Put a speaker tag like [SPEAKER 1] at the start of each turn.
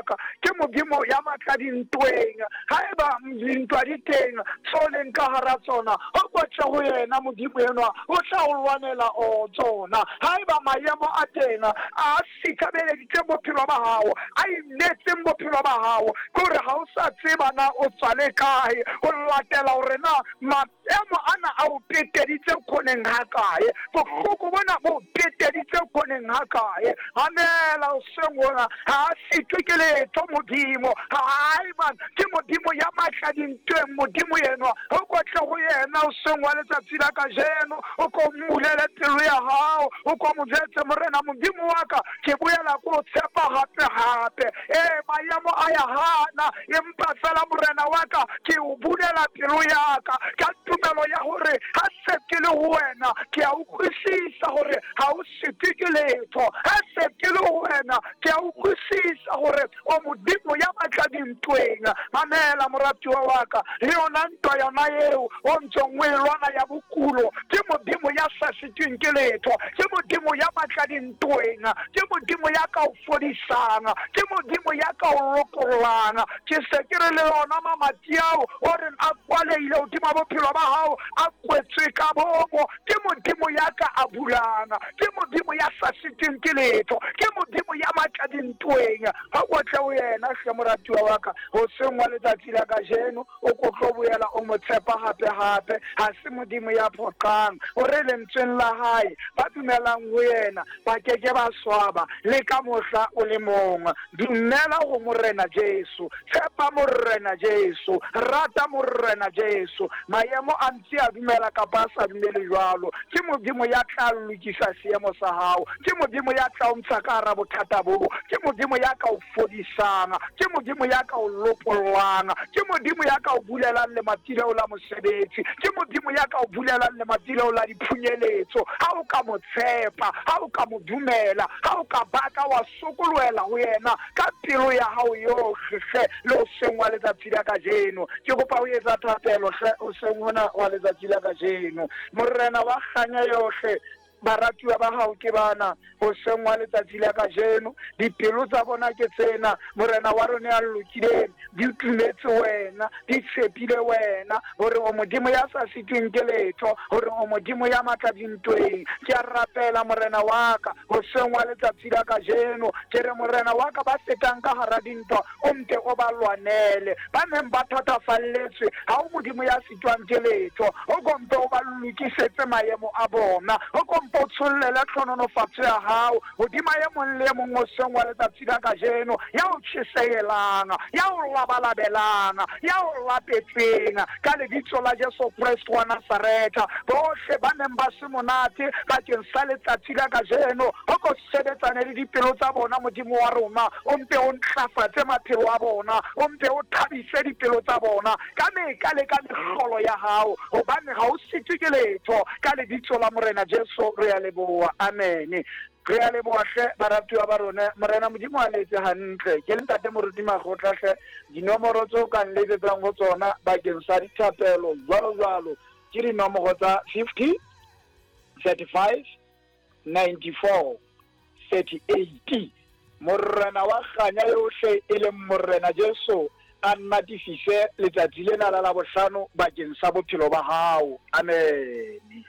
[SPEAKER 1] wa ka, ke Modimo ya matla dintweng. Haeba dintwa di teng, tseo leng ka hara tsona, o kotle ho yena Modimo enwa, o tla o lwanela o tsona. Haeba maemo a teng a sithabeleditseng bophelo ba hao, a imetseng bophelo ba hao, ke hore ha o sa tseba na o tswa le kae, o latela hore na maemo ana a o peteditse khoneng hakae, bohloko bona bo peteditse khoneng hakae. Mamela hoseng hona, ha a sitwe ke letho Modimo. Hai man, ke Modimo ya matla dintweng, Modimo enwa. O kotle ho yena hoseng wa letsatsi la kajeno, o ko mmulele pelo ya hao, o ko mo jwetse, Morena Modimo wa ka, ke boela ke o tshepa hape hape. Ee, maemo a ya hana, empa fela Morena wa ka, ke o bulela pelo ya ka ka tumelo ya hore ha se ke le ho wena, ke a utlwisisa hore ha o sitwe ke letho. Ha se ke le ho wena, ke a utlwisisa hore o Modimo ya matla dintweng. Mamela moratuwa wa ka, le yona ntwa yona eo o ntseng o e lwana ya bokulo, ke Modimo ya sa sitweng ke letho, ke Modimo ya matla dintweng, ke Modimo ya ka o fodisang, ke Modimo ya ka o lokollang. Ke se ke re le yona mamati ao o reng a kwalehile hodima bophelo ba hao, a kwetswe ka bomo, ke Modimo ya ka a bulang, ke Modimo ya sa sitweng ke letho, ke Modimo ya matla dintweng. Ha o tle ho yena hle moratuwa wa ka, hoseng wa letsatsi la kajeno, o ko tlo boela o mo tshepa hape hape. Ha se Modimo ya phoqang, o re lentsweng la hae, ba dumelang ho yena ba ke ke ba swaba le ka mohla o le mong. Dumela ho Morena Jesu, tshepa Morena Jesu, rata Morena Jesu. Maemo a ntse a dumela kapa a sa dumele jwalo, ke Modimo ya tla lokisa seemo sa hao, ke Modimo ya tla o ntsha ka hara bothata boo, ke Modimo ya ka o fodisang, ke Modimo ya ka o lopollang, ke Modimo ya ka o bulelang lemati leo la mosebetsi, ke Modimo ya ka o bulelang lemati leo la diphunyeletso. Ha o ka mo tshepa, ha o ka mo dumela, ha o ka baka wa sokolohela ho yena ka pelo ya hao yohle hle, le hoseng wa letsatsi la kajeno. Ke kopa ho etsa thapelo hle hoseng hona wa letsatsi la kajeno. Morena wa kganya yohle, baratuwa ba hao ke bana hoseng wa letsatsi la kajeno, dipelo tsa bona ke tsena, Morena wa rona ya lokileng, di tumetse wena, di tshepile wena, hore o Modimo ya sa sitweng ke letho, hore o Modimo ya matla dintweng. Ke a rapela Morena wa ka hoseng wa letsatsi la kajeno, ke re Morena wa ka, ba fetang ka hara dintwa o mpe o ba lwanele, ba neng ba thatafalletswe, ha o Modimo ya sitwang ke letho, o kompe o ba lokisetse maemo a bona, o kompe o tshollele tlhononofatso ya hao hodima e mong le e mong hoseng wa letsatsi la kajeno, ya o tjhesehelang, ya o labalabelang, ya o lapetseng, ka lebitso la Jesu Kreste wa Nazaretha. Bohle ba neng ba se monate bakeng sa letsatsi la kajeno, o ko sebetsane le dipelo tsa bona, Modimo wa rona, o mpe o ntlafatse maphelo a bona, o mpe o thabise dipelo tsa bona ka meka le ka mehlolo ya hao, hobane ha o sitwe ke letho. Ka lebitso la Morena Jesu re a leboha, amene. Re a leboha hle baratuwa ba rona, Morena Modimo a le etse hantle. Ke le Ntate Moruti Makgotla hle, dinomoro tseo ka nletsetsang ho tsona bakeng sa dithapelo jwalo jwalo ke dinomoro tsa 50 35 94 38. Morena wa kganya yohle e leng Morena Jesu a natifise letsatsi lena la Labohlano bakeng sa bophelo ba hao. Amen.